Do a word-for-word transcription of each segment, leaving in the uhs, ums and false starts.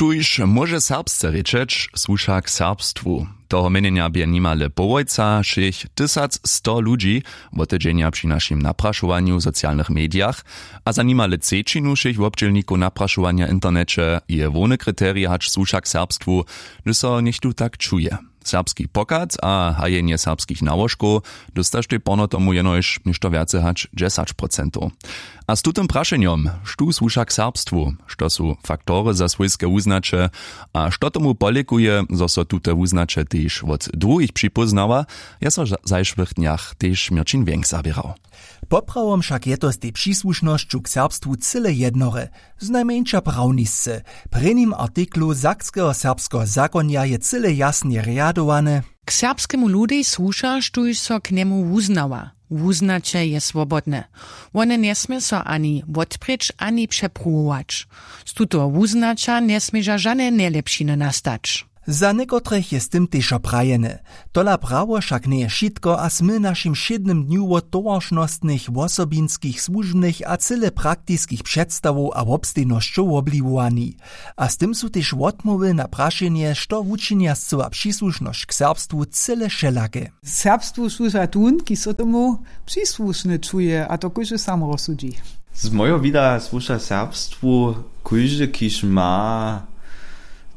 Štóž móže serbsce rěčeć, słuša k serbstwu. Toho měnjenja bě nimale połojca, šěch tysac sto ludźi, wotedźenja při našim naprašowanju w socialnych medijach. A za nimale třećinu wšěch wobdźělnikow naprašowanja w interneće je hłowny kriterij hač słuša k serbstwu, hdyž so něchtó tak čuje. Serbski pochad a hajenje serbskich nałožkow dóstaštej porno tomu jenož něšto wjace hač dźesać procentow. A z tutym prašenjom, štó słuša k serbstwu, što su faktory za swójske wuznaće, a što tomu polěkuje, zo so tute wuznaće tež wot druhich připóznawa, je so w zajšłych dnjach tež měrćin wjenk zaběrał. Poprawom wšak je to z tej přisłušnosću k serbstwu cyle jednore, znajmjeńša prawnisce. W prěnim artiklu sakskeho serbskeho zakonja je cyle jasnje rjadowane. K serbskemu ludej słuša, štóž so k njemu wuznawa. Wuznaće je swobodne. Wone njesmě so ani wotprěč ani přepruwować. Z tutoho wuznaća njesměža žane njelěpšiny nastać. Za někotrych je z tym tež prajene. Tola prawo wšak njeje wšitko a smy w našim wšědnym dnju wot towaršnostnych wosobinskich słužbnych a cyle praktiskich předstawow a wobstejnosćow wobliwowani. A z tym su tež wotmołwy na prašenje što wučinja scyła přisłušnosć k serbstwu cyle wšelake. Serbstwu słuša tón kiž so tomu přisłušny čuje a to kóždy sam rozsudźi. Z mojeho wida słuša serbstwu kóždy kiž ma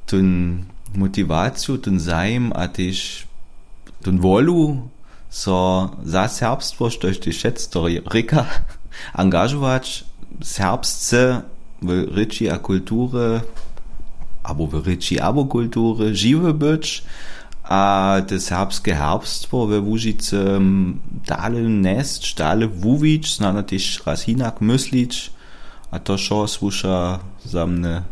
tón motiwaciju tón zajim a tež tón wolu so za serbstwo štož tež wšetc to rěka angažować serbsce w rěči a kulturje abo w rěči abo kulturje žiwy być a te serbske herbstwo we łužicy dale njesć dale wuwić snano tež raz hinak myslić. A to wšo słuša za mnje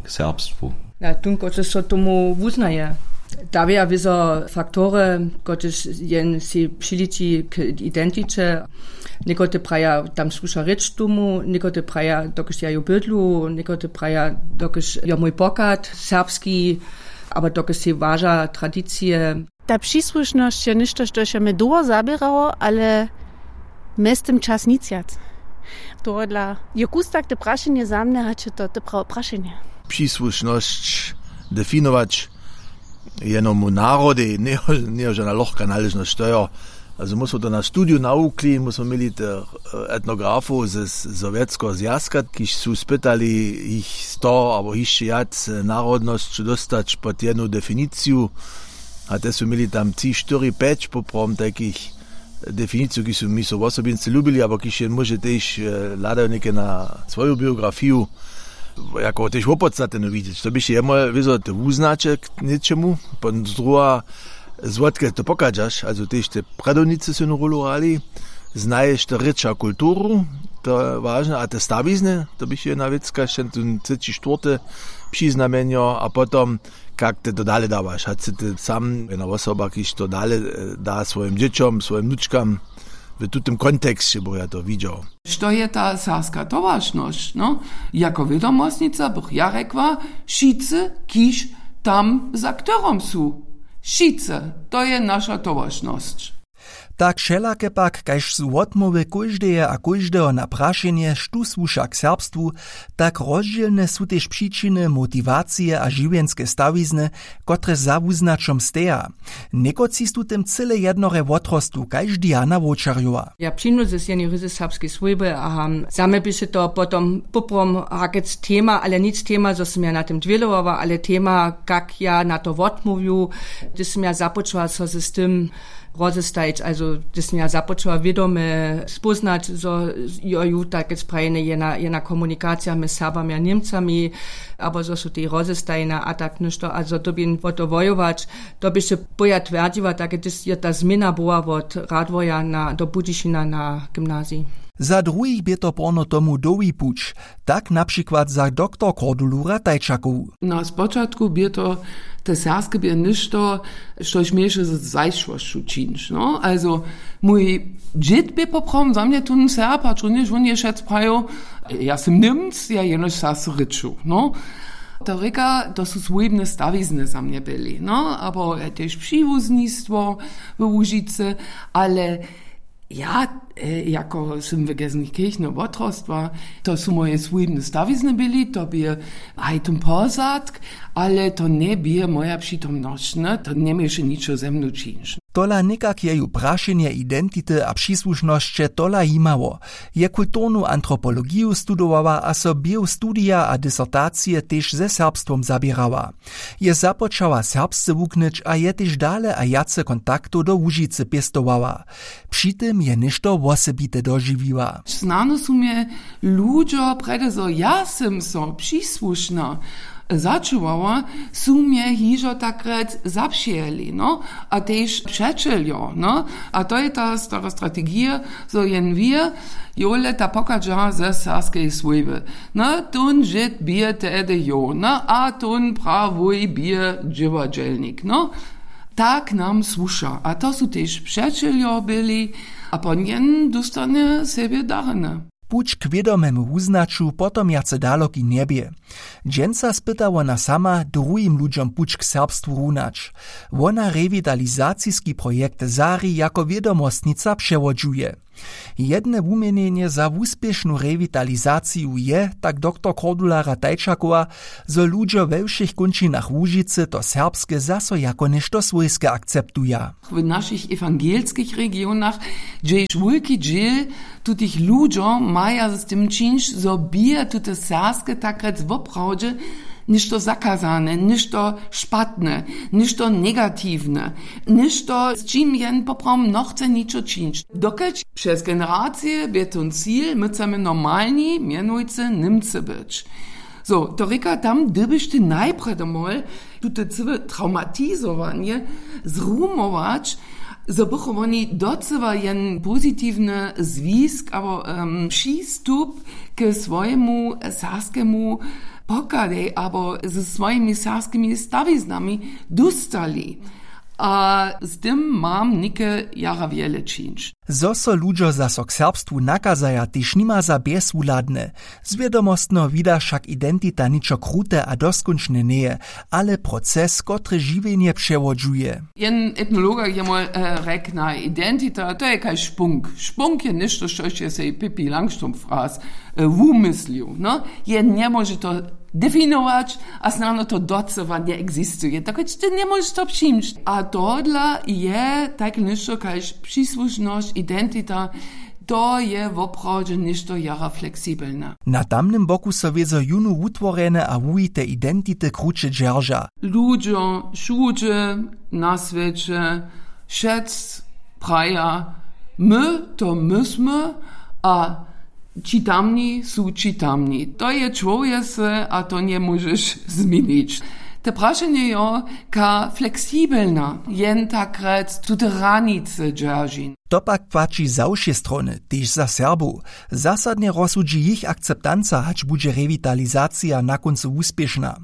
k serbstwu. Na tón kotryž so tomu wuznaje dawja wězo faktory kotryž jen sej přiliči k identiće. Někotre praja tam słuša rěč tomu někotre praja dokelž ja ju bydlu někotre praja dokelž jo mój pochad serbski abo dokelž sej waža tradicije. Ta přisłušnosć je něšto štož je mje dołho zaběrało ale mjeztym čas nic wjac. Tohodla je kustak te prašenje za mnje hač je to te prawe prašenje. Přisłušnosć definować jenomu narodej njejo žana lochka naležnosć to jo. Azo my smo to na studiju nawukli my smo měli tych etnografow ze sowjetskeho zwjazka kiž su spytali jich sto abo hišće wjac narodnosćow dóstać pod jednu definiciju. A te su měli tam tři štyri pjeć poprawom tajkich definiciju kiž su mi so wosobinsce lubili abo kiž jen móže tež hladajo něke na swoju biografiju jako tež wopodstatnjenu widźeć to běše jemoj wězo te wuznaće k něčemu. Potom druha zwotke to pochadźaš azo tež te prjadownicy su jednu rólu hrali. Znaješ to rěča kulturu. To je wažne a te stawizny to běše jedna wěcka šćen tón třeći štwórty přiznamjenjo a potom kak te to dale dawaš hač sy ty sam jedna wosoba kiž to dale da swojim dźěćom swojim wnučkam. W tutym konteksće bych ja to widźał. Što je ta serbska towaršnosć no jako wědomostnica bych ja rjekła wšitcy kiž tam za chtorom su wšitcy. To je naša towaršnosć. Tak wšelake pak kaž su wotmołwy kóždeje a kóždeho na prašenje štó słuša k serbstwu, tak rozdźělne su tež přičiny motiwacije a žiwjenske stawizny, kotrež za wuznaćom steja. Někotři su tym cyle jednore wotrostwu kaž diana wowčerjowa. Ja přinu z jenej ryzy serbskej swójby a za mje běše to potom poprawom hakec tema ale nic tema zo sym ja na tym dwělowała ale tema kak ja na to wotmołwju, hdyž sym ja započała so z tym rozestajić azo hdyž sym ja započała wědomje spóznać zo jo ju takec prajene jena komunikacija mjez serbami a němcami abo zo su tej rozestajene a tak něšto a zo dyrbjeń wo to wojować. To běše poja twjerdźiła tak hdyž je ta změna była wot radworja do budyšina na gymnazij. Za druhich bě to porno tomu dołhi puć, tak na přikład za doktor kordulu ratajčakow. Na spočatku bě to te serbske bě něšto štož měješe z zajšłosću čińć no azo mój dźěd bě poprawom za mnje tón serb hač runjež wón je wšetc prajił ja sym němc ja jenož serbsce rěču no. To rěka to su swójbne stawizny za mnje byli no abo tež přiwuznistwo we łužicy ale Ja, jako sym w Gelsenkirchno wotrostła, to su moje swójbne stawizny byli, to bě haj tón pozadk, ale to njebě moja přitomnosć, ne, to njeměše ničo ze mnu čińć. Tola někak jeju prašenje identity a přisłušnosće tola jimało. Je kulturnu antropologiju studowała a so běhu studija a disertacije tež ze serbstwom zaběrała. Je započała serbsce wuknyć a je tež dale a wjace kontaktow do Łužicy pěstowała. Při tym je něšto wosebite dožiwiła. Snano su mje ludźo, prjedy zo ja sym so přisłušna začuwała, su mje hižo takrjec zapřijeli, no, a tež přećeljo, no. A to je ta stara strategija, zo jen wir, jole ta pochadźa ze serbskeje swójby. No, tón žyd bě tehdy jo, no, a tón prawuj bě dźěładźelnik, no. Tak nam słuša. A to su tež přećeljo byli, a pon jen dóstanje sebje darjene. Puć k wědomemu wuznaću potom wjace daloki njebě. Dźensa spyta wona sama druhim ludźom puć k serbstwu runać. Wona rewitalizaciski projekt Zari jako wědomostnica přewodźuje. Jedne wuměnjenje za wuspěšnu rewitalizaciju je, tak doktor Kordulara Tajčakowa, zo ludźo we wšěch kónčinach Łužicy to serbske zaso jako něšto swójske akceptuja. W našich ewangelskich regionach, hdźež wulki dźěl tutych ludźo maja z tym čińć, zo bě tute serbske takrjec woprawdźe něšto zakazane, něšto špatne, něšto negatiwne, něšto, z čim jen poprawom nochce ničo čińć. Dokelž přez generacije bě tón cil, my chcemy normalni, mjenujcy Němcy być. So, to rěka, tam dyrbiš ty najprjedy mol tute cyłe traumatizowanje zrumować, zo bychu woni docyła jen pozitiwny zwisk abo, em, přistup k swojemu serbskemu pochadej abo ze swojimi serbskimi stawiznami dóstali. A z tym mam něke jara wjele čińć. Zo so ludźo zaso k serbstwu nakazaja, tež nima za bjezwuhladne. Z wědomostneho wida wšak identita ničo krute a doskónčne njeje, ale proces, kotryž žiwjenje přewodźuje. Jen etnologa je mol, e, rjeknał, identita, to je kaž špunk. Špunk je něšto, štož je sej Pippi Langstrumpf raz, e, wumyslił, no. Je njemóže to definować, a snano to docyła njeexistuje. Tak ty njemóžeš to přijimć. A tohodla je tak něšto kaž přisłušnosć, identita, to je woprawdźe něšto jara fleksibelne. Na tamnym boku so wězo jónu wutworjene a wuwite identity kruće dźerža. Ludźo wšudźe na swěće, wšec praja, my to my smy, a ći tamni su ći tamni. To je čłowjese a to njemóžeš změnić. Te prašenje jo, ka fleksibelna jen takrjec tute hranice dźeržin. To pak płaći za wšě strony, tež za Serbow. Zasadnje rozsudźi jich akceptanca, hač budźe rewitalizacija na kóncu wuspěšna.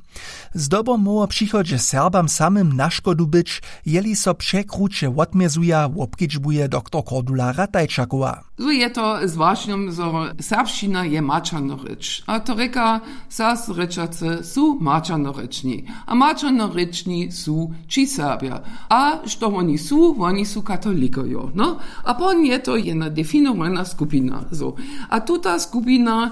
Zdobom móhło w přichodźe Serbam samym na škodu być, jeli so překruće wotmězuja, wobkedźbuje doktor Cordula Ratajčakowa. Zo je to z wašnjom, zo serbšćina je maćerna rěč. A to rěka, serbsce rěčacy su maćernorěčni. A maćernorěčni su ći Serbja. A što woni su? Woni su katolikojo. No? A pon je to jedna definowana skupina. Zo. A tuta skupina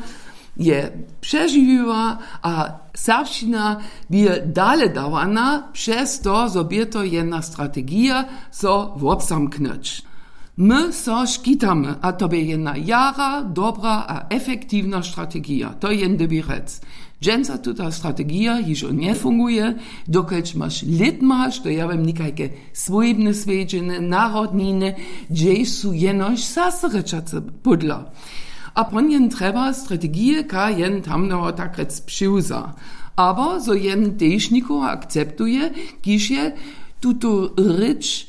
je přežiwiła a serbšćina bě dale dawana přez to, zo bě to jedna strategija, so wobzamknyć. My so škitamy, a to bě jedna jara dobra a efektiwna strategija. To je jen dyrbji rjec. Dźensa tuta strategija hižo njefunguje, dokelž maš lětma, što ja wěm, někajke swójbne swjedźenje, narodniny, hdźež su jenož serbsce rěčace pódla. A pon jen trjeba strategije, ka jen tamneho tak rjec přiwza. Abo zo jen tež někoho akceptuje, kiž je tutu rěč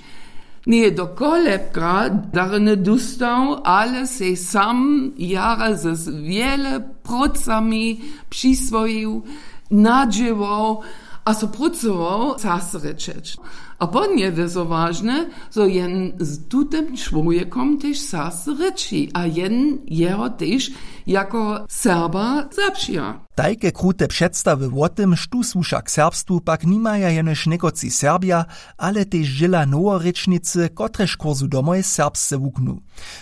njeje do kolebka darjeny dóstał, ale sej sam jara z wjele prócami přiswojił, nadźěłał a so prócował serbsce rěčeć. A pon je wězo wažne, zo jen z tutym čłowjekom tež serbsce rěči a jen jeho tež jako Serba zapřija. Tajke krute předstawy wo tym, štó słuša k serbstwu, pak nimaja jenož někotři Serbja, ale tež dźěla noworěčnicy, kotrež kursu domoj serbsce wuknu.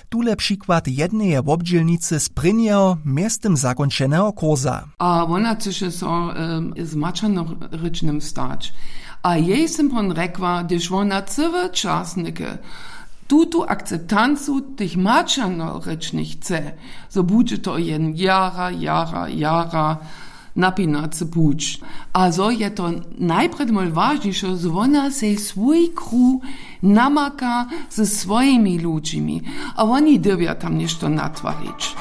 Tule přikład jedneje wobdźělnicy z prěnjeho mjeztym zakónčeneho kursa. A wona chcyše so z maćernorěčnym stać. A jej sym pon rjekła, hdyž wona cyły čas něke tutu akceptancu tych maćernorěčnych chce, zo budźe to jen jara jara jara napinacy puć. A zo je to najprjedy mol wažniše, zo wona sej swój kruh namaka ze swójimi ludźimi, a woni dyrbja tam něšto natwarić.